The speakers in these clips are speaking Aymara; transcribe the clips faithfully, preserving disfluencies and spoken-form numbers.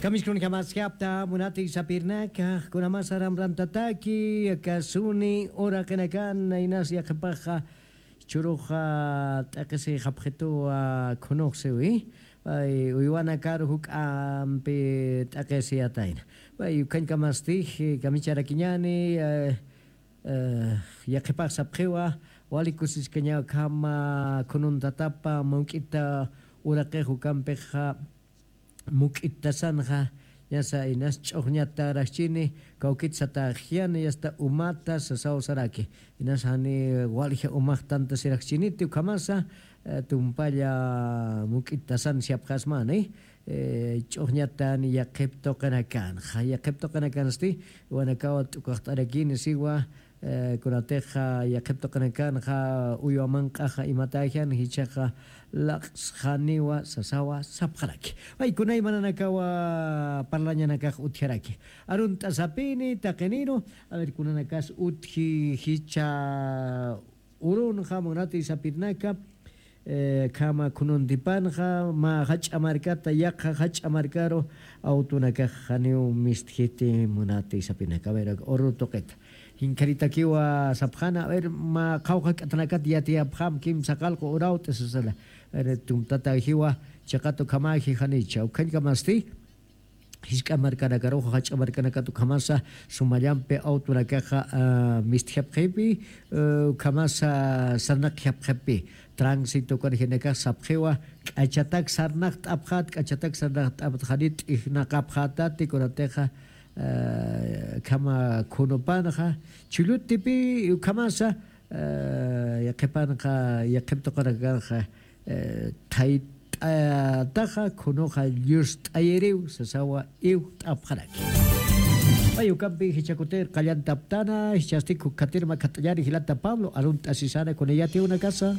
Kamiskunjamaskapta munati sapirnaka, kunamasa ramrantataki, kasuni uraqinakan, inas yaqhipaxa, churuxa t'aqisi japxituwa khunuxsiwi. Pay uywanakaru juk'ampi t'aqisiyatayna. Pay ukhañkamasti kamicharakiñani, yaqhipax sapxiwa, wali kusiskañaw khama khununtatapa muk'ita uraqix ukampixa, muk'itasanxa, ñasa inas ch'uxñatarakchini, kawkit sataxyani, yasta umata sasaw saraki. Inas jani walja umax tantasiraxchiniti ukhamasa, tumpalla muk'itasan siapxasmani. Ch'uxñatan yaqhip tuqinakanxa, yaqhip tuqinakansti, wanakawa t'ukaxt'arakini siwa, kunatixa yaqhip tuqinakanxa uywamanq'axa imatäxan jichhaxa laqsxaniwa sasawa sapxaraki. Pay kunaymananakawa parlañanakax utjaraki. Arunt'asapini taqiniru, a ver, kunanakas utji jichha urunxa munati sapirnaka, khama khununtipanxa mä jach'a markata, yaqha jach'a markaru awtunakax janiw mistjiti munati sapinaka. A ver, uru tuqita. Jinkharitakiwa sapxana, a ver, mä qhawqha k'atanakat yatiyapxam kimsa qalqu urawt'i sasala. A ver, tumtatajiwa, chiqatu khamaji janicha. Ukhañkamasti, jisk'a markanakaruxa, jach'a markanakat ukhamasa, sumallampi awtunakaxa, mistjapxipi, ukhamasa sarnaqjapxipi. Tránsito kunajinakax sapxiwa, k'achatak sarnaqt'apxat, k'achatak sarnaqt'apxani t'ijnaqapxatati, kunatixa, khama khunupanxa, chullutipi ukhamasa, yaqhipanxa, yaqhip tuqinakanxa, thayt'ataxa, khunuxa llust'ayiriw, sasawa iwt'apxaraki. Pay ukampi jichhakutir qallantaptana, jichhasti kukhatir makhat'añani jilata Pablo, arunt'asisana kunayatiw unakasa.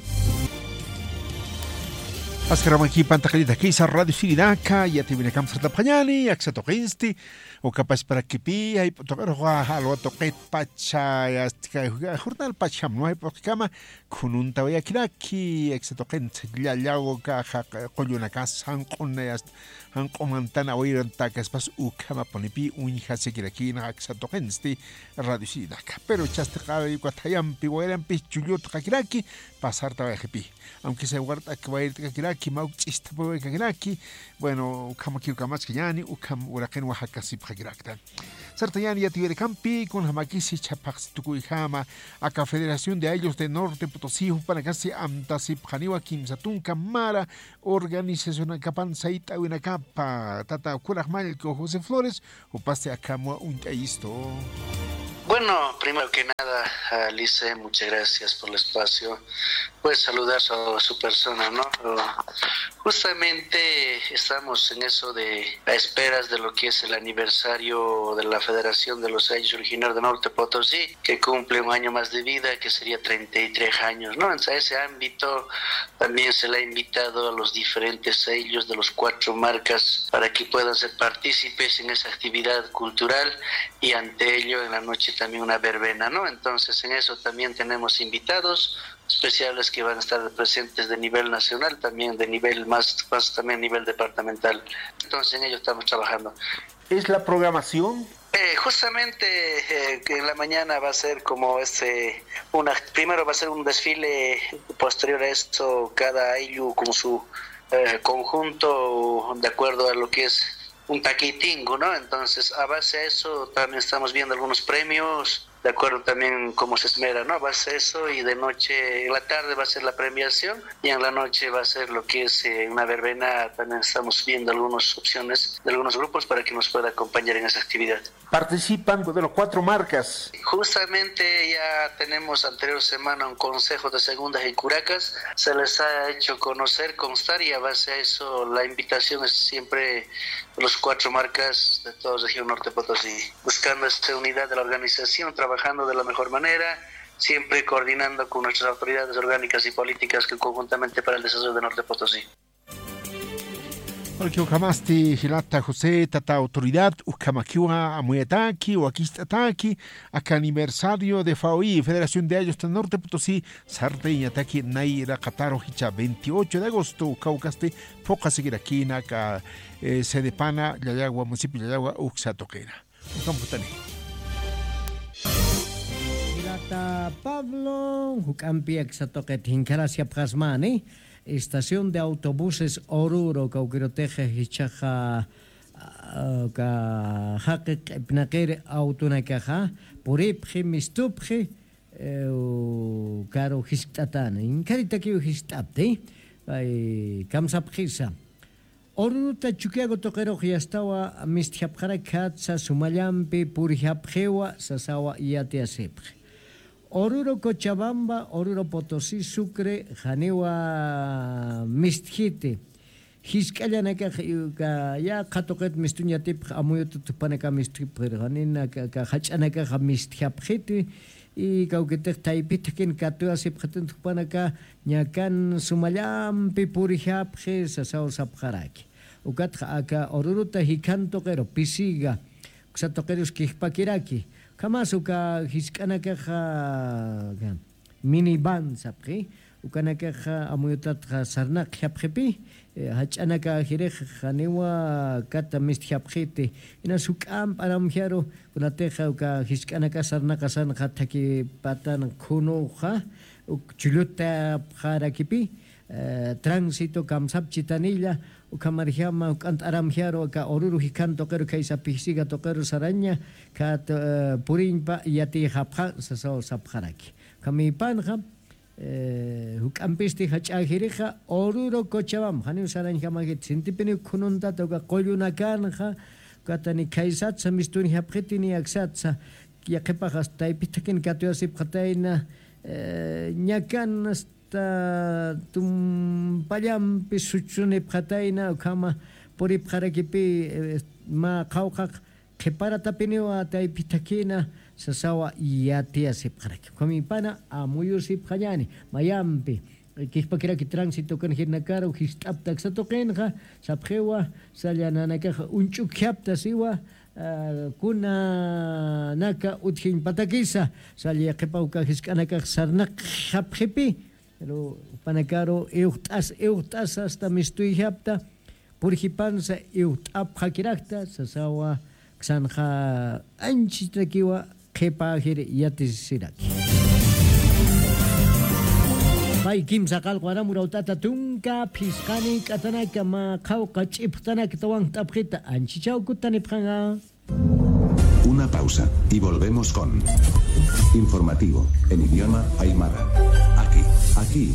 Askaramakipanta qallita kisa Radio Sirinaka, yatiwinakam sartapxañani, aksa tuqinsti, uka pachparakipi, jayp'u tuqiruxa, jalwa tuqitpacha, yastika, jornal pachjam, ¿no? Jayp'u tuqikama, khununtawayakirakki, aksa tuqinsti, llallaw, uka, qullunakasa, janq'unayas, janq'umantan awirantaka, spas ukhamapunipi, uñjasikirakina, aksa tuqinsti, Radio Sirinaka. Pero chasti qawayuka thayampi, wayrampi, chullutqakiraki, pasartawayxipi. Aunque sea wart'ak wayt'kakiraki, mawk ch'istapawaykakinaki, bueno, ukhamakiw kamaskañani, ukham uraqinwa jakasipxakirakta. Sartañani yatiwirakampi, kunjamakisi chhaphaxsi tukuyjama, aka Federación de Ayllus de Norte Potosí, jupanakasi amtasipxaniwa kimsa tunka mara organizacionakapan sayt'awinakapa, tata ukhuraq mallku José Flores, jupasti akham uñt'ayistu. Bueno, primero que nada, Alice, muchas gracias por el espacio. Pues saludar a su persona, ¿no? Justamente estamos en eso de, a esperas de lo que es el aniversario de la Federación de los Ayllus Originarios de Norte Potosí, que cumple un año más de vida, que sería treinta y tres años, ¿no? En ese ámbito también se le ha invitado a los diferentes ayllus de los cuatro marcas para que puedan ser partícipes en esa actividad cultural y ante ello en la noche también una verbena, ¿no? Entonces en eso también tenemos invitados especiales que van a estar presentes de nivel nacional, también de nivel más, más también nivel departamental. Entonces en ello estamos trabajando. ¿Es la programación? Eh, justamente eh, que en la mañana va a ser como este, una, primero va a ser un desfile, posterior a eso cada ayllu con su eh, conjunto de acuerdo a lo que es un taquitingo, ¿no? Entonces, a base de eso también estamos viendo algunos premios, de acuerdo también cómo se esmera, ¿no? A base de eso y de noche, en la tarde va a ser la premiación y en la noche va a ser lo que es eh, una verbena. También estamos viendo algunas opciones de algunos grupos para que nos pueda acompañar en esa actividad. Participan de los cuatro marcas. Justamente ya tenemos anterior semana un consejo de segundas y curacas. Se les ha hecho conocer, constar y a base a eso la invitación es siempre los cuatro marcas de toda región Norte Potosí, buscando esta unidad de la organización, trabajando de la mejor manera, siempre coordinando con nuestras autoridades orgánicas y políticas que conjuntamente para el desarrollo de Norte Potosí. Porque ukhamasti jilata José, tata autoridad, ukhamakiwa amuyataki, wakicht'ataki, aka aniversario de FAOI, Federación de Ayllus Norte Potosí, sartayñataki nay raqataru jichha veintiocho de agosto, ukawkasti, phuqasikirakina aka, eh, Sedepana, Llallagua, municipio Llallagua, uksa tuqina. Ukham jutani. Jilata Pablo, juk'ampi aksa tuqit jinkharasiapxasmani, estación de autobuses Oruro, kawkirutix jichhaxa, ah, ka jaqi q'ipnaqiri autonakaxa, puripxi, mistupxi, eh, u-, karu jiskt'atani, inkharitakiw jiskt'apti, ay, kamsapxisa. Oruruta Chukiyawu tuqirux yastawa mistjapxarakjatsa sumallampi purjapxiwa sasawa yatiyasipxi. Oruro Cochabamba, Oruro Potosí, Sucre, janiwa mistjiti. Jisk'allanakax, uka yaqha tuqit mistuñ yatipxi, amuyuta tupanaka mistjipxiri, janina ka, ka jach'anakaxa mistjapxiti, y kawkitix taypithakin katuwasipxatin jupanaka ñakan sumallampi purjapxi sasaw sapxaraki. Ukatxa aka Oruruta jikhan tuqiru pisiga, uksa tuqirus kijpakiraki. Ukhamas uka jisk'anakaxa, minivan sapxi, ukanakaxa amuyutatxa sarnaqjapxipi, eh, jach'anakajirix janiwa kata mistjapxiti, inas juk'amp aramjaru, kunatixa uka jisk'anaka sarnaqasanxa thakipatan khunuxa, uk chullutapxarakipi, eh, tránsito kamsapchitanilla, ukhamarjama juk'ant aramjaru, aka Oruro jikhan tuqiru, khaysa pisiga tuqiru saraña, khat, eh, puriñpa yatiyxapxa, sasaw sapxaraki. Ukhamipanxa, eh, juk'ampisti jach'ajirixa, Oruro Cochabamba, janiw sarañjamajit, sintipiniw khununtata, uka qullunakanxa, ukatani khaysatsa mistuñjapxiti ni aksatsa, yaqhipax hasta taypithakin katuyasipxatayna, eh, ñakan hasta tumpallampi suchunipxatayna, ukhama puripxarakipi, eh, mä qhawqhaq qhiparatapiniwa taypithakhina sasawa yatiyasipxaraki. Ukhamipana amuyusipxañani, mayampi, eh, kijpakiraki tránsito kan jirnakaru, jist'apta aksa tuqinxa, sapxiwa, salla nanakaxa uñch'ukjapta siwa, ah, kunanaka utjiñpatakisa, salla yaqhipaw uka jisk'anakax sarnaqjapxipi, pero jupanakaru iwxt'as, iwxt'as hasta mistuyjapta, purjipansa iwxt'apxakirakta, sasawa, aksanxa anchitakiwa qhipajir yatisiraki. Pay kimsa qallqu aram urawt'ata tunka phisqani k'atanaka mä qhawqa ch'ipxtanaka tawankt'apxita, anchichaw kutanipxanxa. Una pausa y volvemos con informativo en idioma aymara. Aquí, aquí.